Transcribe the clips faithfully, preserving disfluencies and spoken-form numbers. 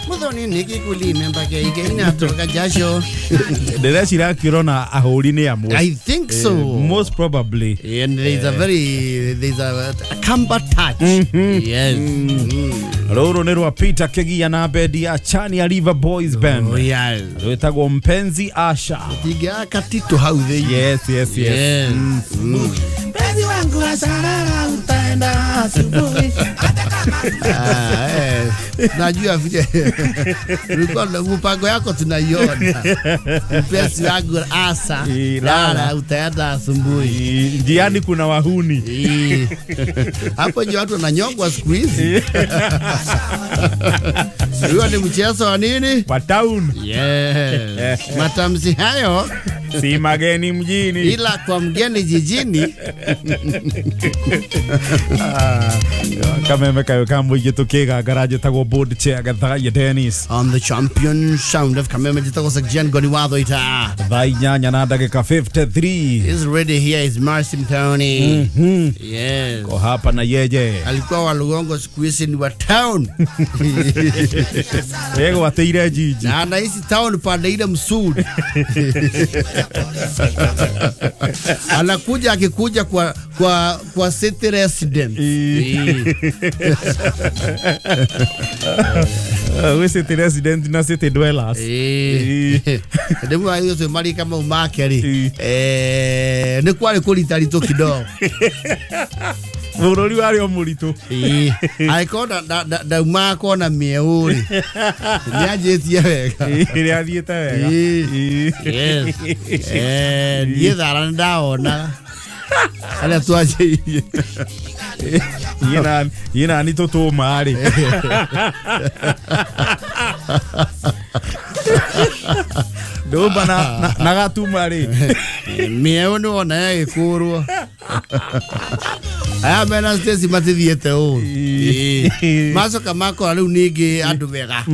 Muthoni niki kulimemba ke inatoka jasho. Ndĩreciria akĩrona ahũri nĩ amwe. I think so. Uh, most probably. And there's a very there's a, a Kamba touch. Mm-hmm. Yes. Mm. Mm. Rũrũ nĩ rwa Peter Kegia na bendi ya Chania River Boys Band. Oh, yes. Rwĩtagwo Mpenzi Asha. Tiga katito hau thĩinĩ. Yes, yes, yes. Yes. Mm. Mm. Mpenzi wangu asharara utaenda asubuhi. Ah, eh. Najua vile ulikuwa na mpango yako tunaiona. Mpenzi wangu asa lala utaenda asubuhi. Njiani kuna wahuni. Hapo ndio watu wananyongwa siku hizi. Huyo ni mchezo wa nini? Wa town. Yes. Matamshi hayo si mageni mjini, ila kwa mgeni jijini. Ah, kameme kayo kambo yetukiga garage tagwo board chair gathaye Dennis on the champion sound of kameme jitagwo Jen Goni watho ita thaa inyanya na ndagika fifty-three is ready. Here is Marcy Mthoni. Mm-hmm. Yes, ko hapa na yeje alikuwa wa Lugongo, siku hizi ni wa town. Yego ateire jiji na anaishi town pande ile msuri. Anakuja akikuja kwa kwa kwa city resident. We city resident na city dwellers. Eh. Ndemu ayo to mari kama umake ri. Eh, ni kwari kurita rito kidogo. Bururi wari o muritu. Eh, aikona da umako na mieuri. Nianjĩtie wega. Nĩ athiĩte wega. Yes. Eh, niĩ thara ndaona. Arĩa twanjĩirie. Yina yina ni tũtũma rĩ. Ndũmba na na gatuma rĩ. Mĩeũ nĩ wona yagĩkũrwo. Aya mena Stacy matithiĩte ũru. Macoka makora rĩu ningĩ andũ wega.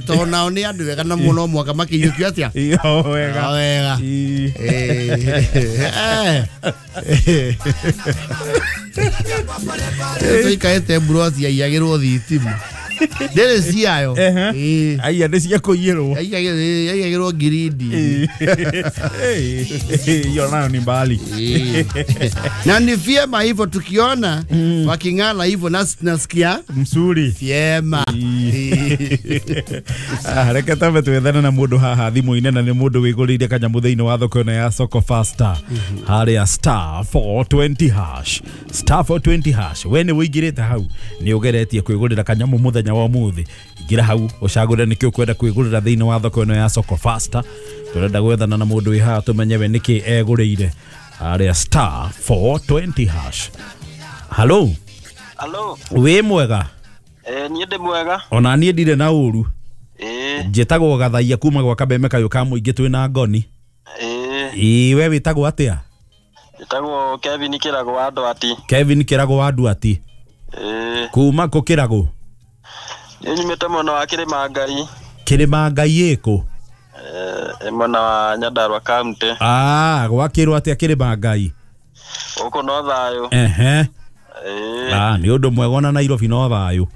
Tondũ nao nĩ andũ wega na mũno mwaka makĩiyũkio atĩa? O wega. O wega. Tũikarĩte mburoti yaiyagĩrwo thitima. Ndĩrĩ ciayo. Aiya nĩ cia kũiyĩrwo. Yaiyagĩrwo ngirindi. Hiyo nayo ni mbali. Na ni vyema hivyo tukiona waking'ala hivyo nasi tunasikia msuri. Vyema. Ah, reke tambe twethane na mundu haha thimu-inĩ na nĩ mundu wĩgũrĩire kanyamũ thĩinĩ wa thoko ĩno ya Soko Faster. Harĩa star four twenty hash. Star four twenty hash. We nĩ wĩingĩrĩte hau nĩ ũgeretie kwĩgũrĩra kanyamũ mũthenya wa ũmũthĩ. Ingĩra hau ũcagũre nĩkĩ ũkwenda kwĩgũrĩra thĩinĩ wa thoko ĩno ya Soko Faster. Tũrenda gwethana na mũndũ wĩ haha tũmenye we nĩkĩ egũrĩire. Harĩa star four twenty hash. Hello. Hello. Wĩ mwega? Eh, niĩ ndĩ mwega. Ona niĩ ndirĩ na ũru. Eh. Njĩtagwo Gathaia kuma gwa Kabeme kayũ ka mũingĩ twĩna Ngoni. Eh. Ĩ we wĩtagwo atĩa? Njĩtagwo Kevin Kĩrago wa Ndwati. Kevin Kĩrago wa Ndwati. Eh. Kuma kũ Kĩrago? Niĩ nyumĩte mwena wa Kĩrĩma Ngai. Kĩrĩma Ngai ĩkũ? Eh, mwena wa Nyandarua County. Ah, gwakĩrwo atĩa Kĩrĩma Ngai? Gũkũ no thayũ. Ehe. Eh. Ah, nĩ ũndũ mwega ona Nairobi no thayũ.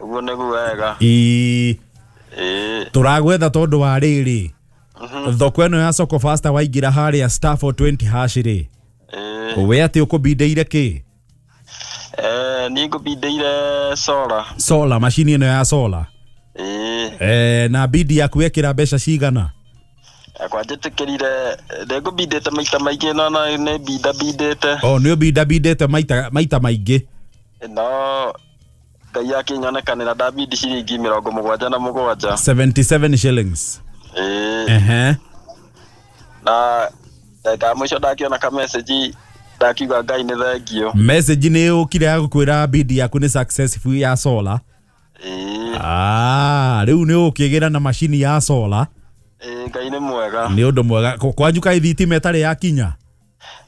Ũguo nĩguo wega. Ĩ. Eh. Tũragwetha tondũ wa rĩrĩ. Thoko ĩno ya Soko Faster waingĩra harĩa star four twenty hash rĩ. Eh. We atĩ ũkũbindĩire kĩ? Eh, niĩ ngũbindĩire solar. Solar, macini ĩno ya solar. Eh. Eh, na bidi yaku wekĩra mbeca cigana? Akwa njĩtĩkĩrire ndĩngũbindĩte maita maingĩ no no nĩ binda bindĩte. Oh, nĩ ũbinda bindĩte maita maita maingĩ. No Ngai akĩnyonekanĩra ndabindi ciringi mĩrongo mũgwanja na mũgwanja. seventy-seven shillings. Eh. Ehe. Na ndagĩka ya mũico ndakiona ka message ndakiuga Ngai nĩ thengio. Message nĩ yũkire ya gũkwĩra bidi yaku nĩ successful ya solar. Eh. Ah, rĩu nĩ ũkĩgĩra na macini ya solar. Eh, Ngai nĩ mwega. Nĩ ũndũ mwega. Kwanyu kaĩ thitima ĩtarĩ yakinya?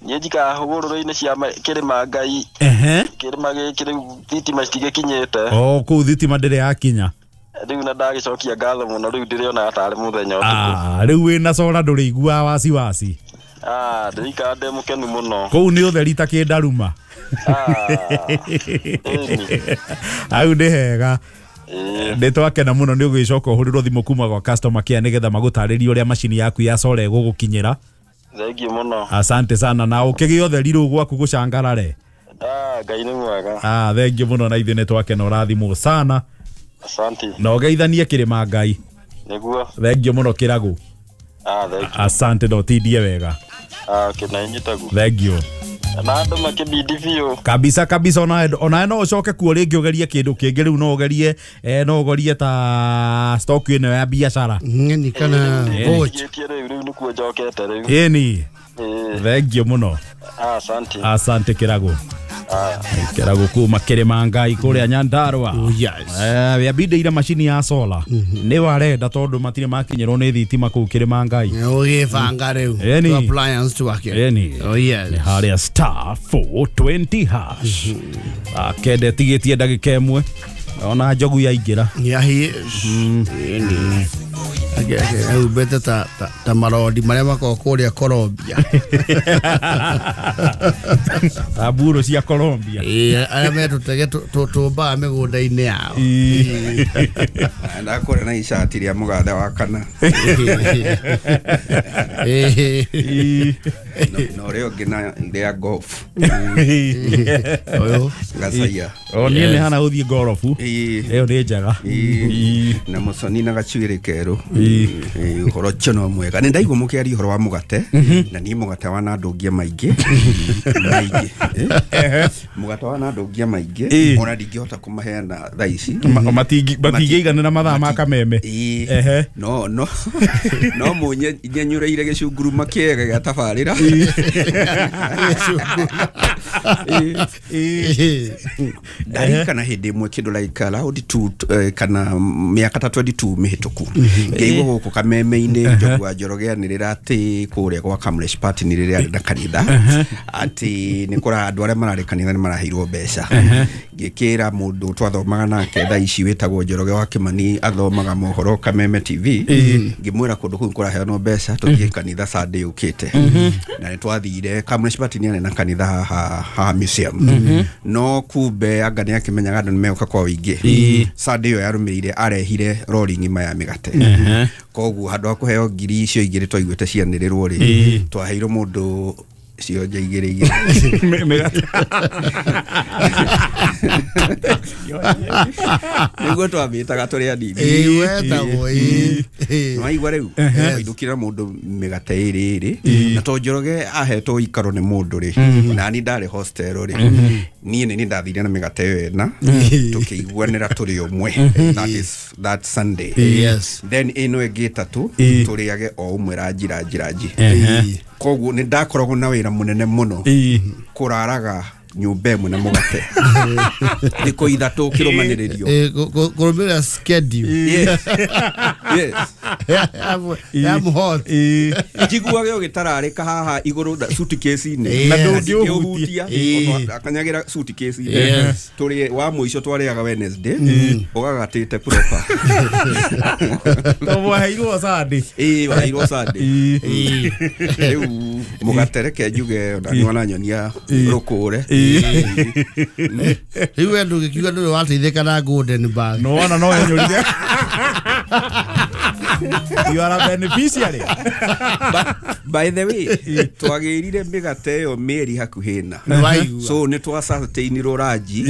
Niĩ njikaraga hũgũrũrũ-inĩ cia Kĩrĩma Ngai. Ehe. Kĩrĩma gĩkĩ rĩu thitima citigĩkinyĩte. Oh, kũu thitima ndĩrĩ yakinya. Rĩu na ndagĩcokia ngatho mũno rĩu ndĩrĩonaga tarĩ mũthenya ũtukũ. Ah, rĩu wĩna solar ndũrĩiguaga wasiwasi. Ah, ndĩrikara ndĩ mũkenu mũno. Kũu nĩ ũtheri ta kĩndaruma. Ah. Hau nĩ hega. Nĩ twakena mũno nĩ ũgĩcoka ũhũrĩrwo thimũ kuma gwa customer care nĩgetha magũtarĩrie ũrĩa macini yaku ya solar ĩgũgũkinyĩra. Thengiũ mũno. Asante sana na ũkĩgĩa ũtheri rĩu gwaku gũcangarare. Ah, Ngai nĩ mwega. Ah, thengiũ mũno na ithuĩ nĩ twakena ũrathimwo sana. Asante. Na ũgeithanie kĩrĩma Ngai. Nĩguo. Thengiũ mũno Kĩragũ. Ah, thengiũ. Asante na ũtindie wega. Ah, okay, na inyuĩ taguo. Thengiũ. Na andũ makĩbidi biũ. Kabisa kabisa ona ona no ũcoke kuo rĩngĩ ũgerie kĩndũ kĩngĩ rĩu no ũgerie eh, no ũgerie ta stock ĩno ya biacara. Ng'eni kana voucher. Nĩndigĩtie rĩu rĩu nĩkuo njokete rĩu. Ĩni. Ĩĩ. Thengiũ mũno. Ah, asante. Asante Kĩragũ. Ah. Kĩragũ kuma Kĩrĩma Ngai kũrĩa Nyandarua. Oh yes. Eh, yambindĩire macini ya solar. Nĩ warenda tondũ matirĩ makinyĩrwo nĩ thitima kũu Kĩrĩma Ngai. Ũgĩbanga rĩu. Ĩni. Tu appliance twake. Ĩni. Oh yes. Nĩ harĩa star four twenty hash. Akende tigĩtie ndagĩka ĩmwe. Ona njogu yaingĩra. Yeah, he is. Ĩni. Age age ta ta ta marodi marĩa makoragwo kũrĩa Colombia. Aburo cia Colombia. Ĩĩ, arĩa metũtege tũmbaga mĩgũnda-inĩ yao. Ndakũrĩa na icati rĩa mũgathe wa kana. Na ũrĩa ũngĩ na rĩa golf. Ũyũ. Gacaia. O niĩ nĩ hana gũthiĩ gorobu. Ĩyo nĩ njega. Na mũconi na gacuĩrĩ kerũ. Ũhoro ũcio no mwega. Nĩ ndaigua mũkĩaria ũhoro wa mũgate na niĩ mũgate wa nandũngia maingĩ. Maingĩ. Mũgate wa nandũngia maingĩ ona ndingĩhota kũmaheana thaa ici. Matingĩiganĩra mathaa ma kameme. No no no mũnyenyũrĩire gĩcunguruma kĩega gĩa tabarĩra. Ndarikana hĩndĩ ĩmwe kĩndũ like around two kana mĩaka ta twenty two mĩhĩtũku ngĩigua gũkũ kameme-inĩ Njogu wa Njoroge anĩrĩra atĩ kũrĩa gwa Kamlesh Party nĩ rĩrĩa arĩ na kanitha atĩ nĩ kũra andũ arĩa mararĩ kanitha nĩ maraheirwo mbeca. Ngĩkĩra mũndũ twathomaga nake thaa ici wĩtagwo Njoroge wa Kĩmani athomaga mohoro Kameme T V, ngĩmwĩra kũndũ kũu kũraheanwo mbeca tũthiĩ kanitha Sunday yũkĩte. Na nĩ twathire Kamlesh Party nĩ arĩ na kanitha haha haha museum. No kumbe anga nĩ akĩmenyaga andũ nĩ megũka kwa ũingĩ. Sunday ĩyo yarũmĩrĩire arehire rori ng'ima ya mĩgate. Koguo handũ ha kũheo ngiri icio igĩrĩ twaiguĩte cianĩrĩrwo rĩ, twaheirwo mũndũ cionje igĩrĩ igĩrĩ. Mĩgate. Nĩguo twamĩtaga tũrĩ anini. Ĩĩ wetagwo ĩĩ. Nĩwaigua rĩu wainũkĩra mũndũ mĩgate ĩrĩ ĩrĩ na to Njoroge ahetwo ikaro nĩ mũndũ rĩ, na niĩ ndarĩ hostel rĩ, niĩ nĩ niĩ ndathire na mĩgate ĩyo ĩna tũkĩiguanĩra tũrĩ ũmwe. That is that Sunday. Yes. Then ĩno ĩngĩ ĩtatũ tũrĩage o ũmwe ranji ranji ranji. Koguo nĩ ndakoragwo na wĩra mũnene mũno kũraraga nyũmba ĩmwe na mũgate thikũ ithatũ kĩrũmanĩrĩrio. Kũrũmĩrĩra schedule. Yes. Yes. Ya mũhoti. Njiguage ũgĩtararĩka haha igũrũ suitcase-inĩ. Na ndũngĩũhutia. Akanyagĩra suitcase-inĩ. Tũrĩ wa mũico twarĩaga Wednesday ũgagatĩte proper. To mwaheirwo Sunday. Ĩĩ waheirwo Sunday. Rĩu mũgate reke njuge ona nĩ wananyonia rũkũre. Rĩu we ndũgĩkiuga ndũrĩ wateithĩka na golden bag. No wona no yenyũrire. You are a beneficiary. But by the way, twagĩrire mĩgate ĩyo mĩeri hakuhĩ na. So nĩ twacertainirwo ranji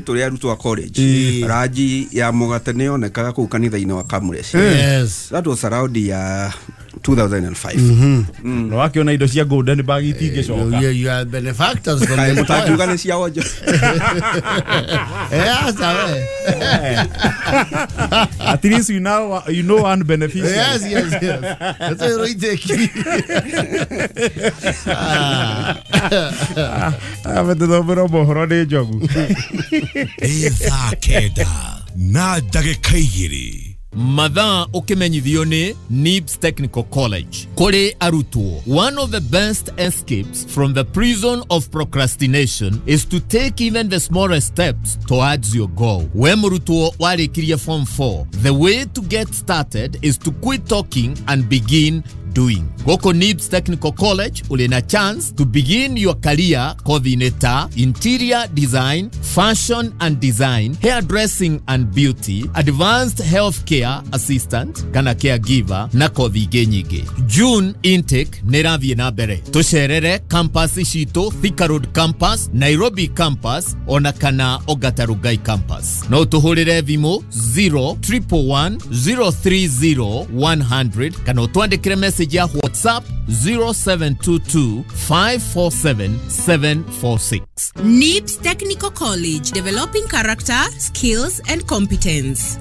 tũrĩ arutwo a college. Ranji ya mũgate nĩ yonekaga kũu kanitha-inĩ wa Kamlesh. Yes. That was around ya two thousand five. No wakiona indo cia golden bag itingĩcoka. You are benefactors from the mũtangiuga nĩ cia wonjo. Eh, aca we. At least you know you know one beneficiary. Yes, yes, yes. That's a right take. Ah, betũthomera mohoro nĩ njogu. Nĩ thaa kenda na ndagĩka igĩrĩ. Mathaa ũkĩmenyithio nĩ Nibs Technical College. Kũrĩ arutwo, one of the best escapes from the prison of procrastination is to take even the smallest steps towards your goal. We mũrutwo warĩkirie form four, the way to get started is to quit talking and begin doing. Gũkũ Nibs Technical College ũrĩ na chance to begin your career kothi-inĩ ta interior design, fashion and design, hairdressing and beauty, advanced healthcare assistant kana caregiver na kothi ingĩ nyingĩ. June intake nĩ ĩrathiĩ na mbere. Tũcerere campus citũ, Thika Road campus, Nairobi campus ona kana Ongata Rongai campus. No tũhũrĩre thimũ zero triple one zero three zero one hundred kana ũtwandĩkĩre message ya WhatsApp zero seven two two five four seven seven four six. Nibs Technical College, developing character, skills and competence.